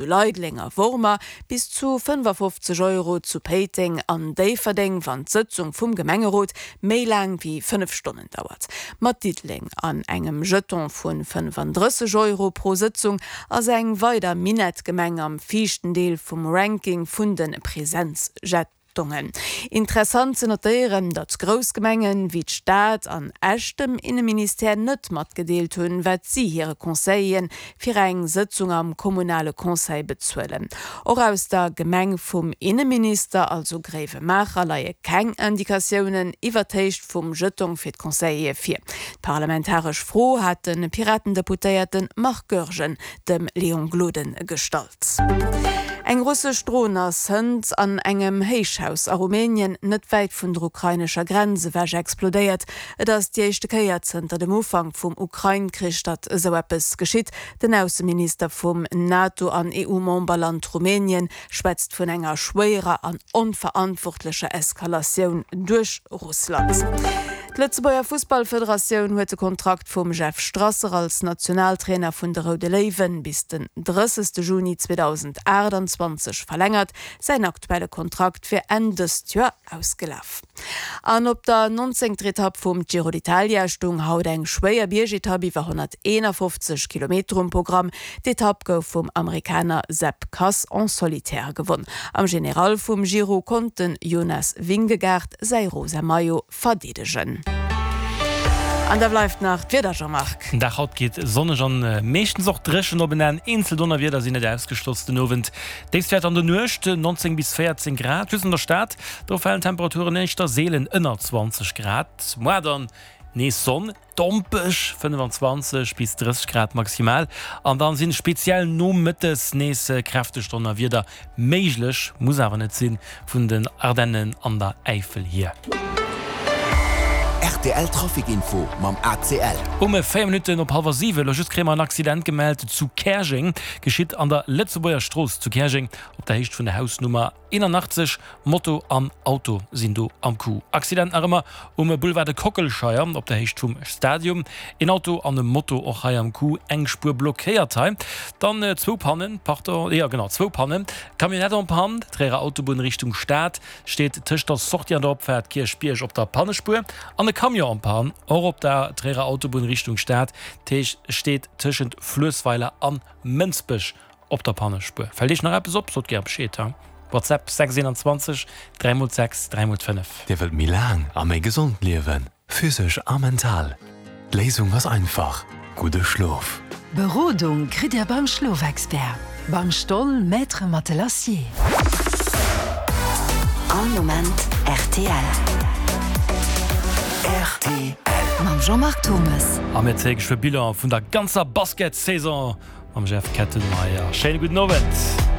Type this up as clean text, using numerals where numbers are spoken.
Zu Leideleng a Wormer, bis zu 55 Euro zu Péiteng an Déifferdeng, wann d'Sëtzung vum Gemengerot méi laang wéi 5 Stonnen dauert. Mat Diddeleng an engem Jeton vu 35 Euro pro Sëtzung ass eng weider Minettgemeng am viischten Deel vum Ranking vun de Präsenzjetongen. Dongen. Interessant ze notéieren, datt grouss Gemengen wéi d'Stad an Esch dem Inneministère net matgedeelt hunn, wat si hire Conseilleren fir eng Sëtzung am kommunale Conseil bezuelen. Och aus der Gemeng vum Inneminister, also Gréiwemaacher, leie keng Indikatiounen iwwer d'Héicht vum Jetong fir d'Conseillere vir. D'parlamentaresch Fro hat de Piraten-Deputéierte Marc Goergen dem Léon Gloden gestallt. Eng russesch Dron ass hënt an engem Héichhaus a Rumänien, net wäit vun der ukrainescher Grenz ewech, explodéiert. Et ass déi éischte Kéier zënter dem Ufank vum Ukrain-Krich, datt esou eppes geschitt. Den Ausseminister vum NATO an EU-Memberland Rumänien schwätzt vun enger schwéierer an onverantwortlecher Eskalatioun duerch Russland. D'Lëtzebuerger Fussballfederatioun huet de Kontrakt vum Jeff Strasser als Nationaltrainer vun de Roude Léiwen bis den 30. Juni 2028 verlängert. Säin aktuelle Kontrakt wier Enn dëst Joer ausgelaf. An op der nonzéngter Etapp vum Giro d'Italia stoung haut eng schwéier Biergetapp iwwer 151 Kilometer um Programm. D'Etapp gouf vum Amerikaner Sepp Kuss en solitaire gewonn. Am General vum Giro konnt de Jonas Vingegaard säi rosa Maillot verdeedegen. An da bleift nach d'Wieder, Jean-Marc. Den Dag haut geet sonneg an meeschtens och dréchen op en Enn. Eenzel Donnerwieder sinn net ausgeschloss. Den Owend Déifstwäerter an der Nuecht 19 bis 14 Grad, just an der Stad do falen d'Temperaturen éischter seelen ënner 20 Grad. Moar dann nees Sonn, dompeg 25 bis 30 Grad maximal an dann sinn speziell nomëttes nees kräfteg Donnerwieder méiglech, muss awer net sinn, vun den Ardennen an der Äifel hier. Rtl Trafic Info mam ACL. Um 4 Minutten op hallwer 7 elo just kréie mer en Accident gemellt zu Käerjeng. Geschitt an der Lëtzebuerger Strooss zu Käerjeng op der Héicht vun der Hausnummer 81. Moto an Auto sinn do am Coup. Accident nach ëmmer um Boulevard de Kockelscheier op der Héicht vum Stadium. Een Auto an e Moto och hei am Coup, eng Spuer blockéiert hei. Dann zwou Pannen, pardon, jo genau zwou Pannen, Camionnette en panne, Tréierer Autobunn Richtung Stad. Steet tëscht der Sortie an der Opfaart Kierchbierg op der Pannespuer an e Camion en panne och op der Tréierer Autobunn Richtung Stad, steet tëschent Fluessweiler an Mënsbech op der Pannespuer. Fält Iech nach eppes op, sot gär Bescheed ha. WhatsApp 6 21 3 x 6 3 x 5. Dir wëllt méi laang a méi gesond liewen? Physesch a mental. D'Léisung ass einfach, gudde Schlof. Berodung kritt Dir beim Schlofexpert, beim Stoll Maître Matelassier. All Moment rtl. Rtl. Mam Jean-Marc Thomes. A mir zéie geschwë Bilan vun der ganzer Basketsaison mam Jeff Kettenmeyer. Schéine gudden Owend.